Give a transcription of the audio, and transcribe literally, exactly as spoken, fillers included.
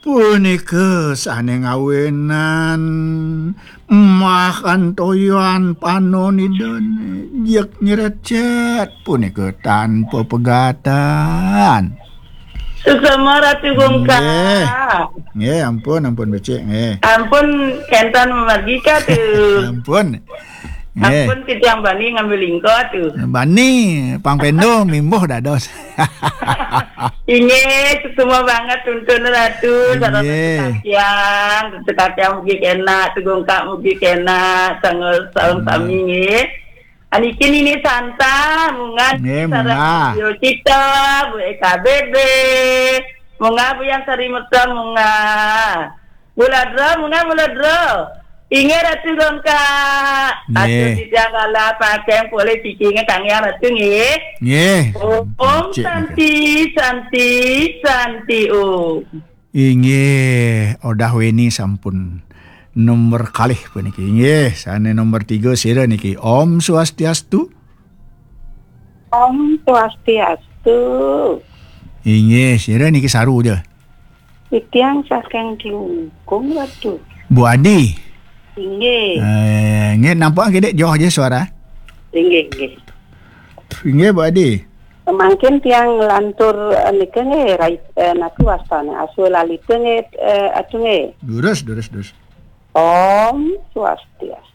Punika sane ngawenan makan toyan panon idane, jek nyerecet punika tanpa pegatan. Suksma Ratu Gongka. Nggih. Nggih, ampun, ampun becik, nggih. Ampun, kenten mamargi ka tu. Ampun. Nggih. Ampun, titiang bani ngambil lingko tu. Bani, pang pendo mimbuh dados. Inggih, suksma banget tuntun Ratu, sareng Ratu Katiang, Ratu Katiang mugi kenak, Ratu Gongka mugi kenak, sareng, sareng sami nggih. Aniki Nini Santa, munggah nggih, sareng munggah. Bu Cita, Bu E K B B, munggah Bu Yang Sari Merta, munggah. Bu Ladra, munggah Bu Ladra. Inggih Ratu Gongka. Nggih. Atur titiang kala pakeng polih siki nggih kang Yang Ratu nggih. Nggih. Om Cik Santi, Santi, Santi Om. Inggih, Odah Weni sampun nomor kalih puniki. Inggih, sane nomor tiga sira niki. Om Swastiastu. Om Swastiastu. Inggih, sira niki saru ja. Titiang saking Klungkung, Ratu. Bu Adi. Inggih. Eh, nggih, nampak nggih, Dek, joh aja suara. Inggih, inggih. Inggih, Bu Adi. Mangkin tiang lantur, eh, nika nggih, rai-, eh, napi wastane? Aswa lalita nggih, eh, atu nggih. Durus, durus, durus. Om Swastiastu.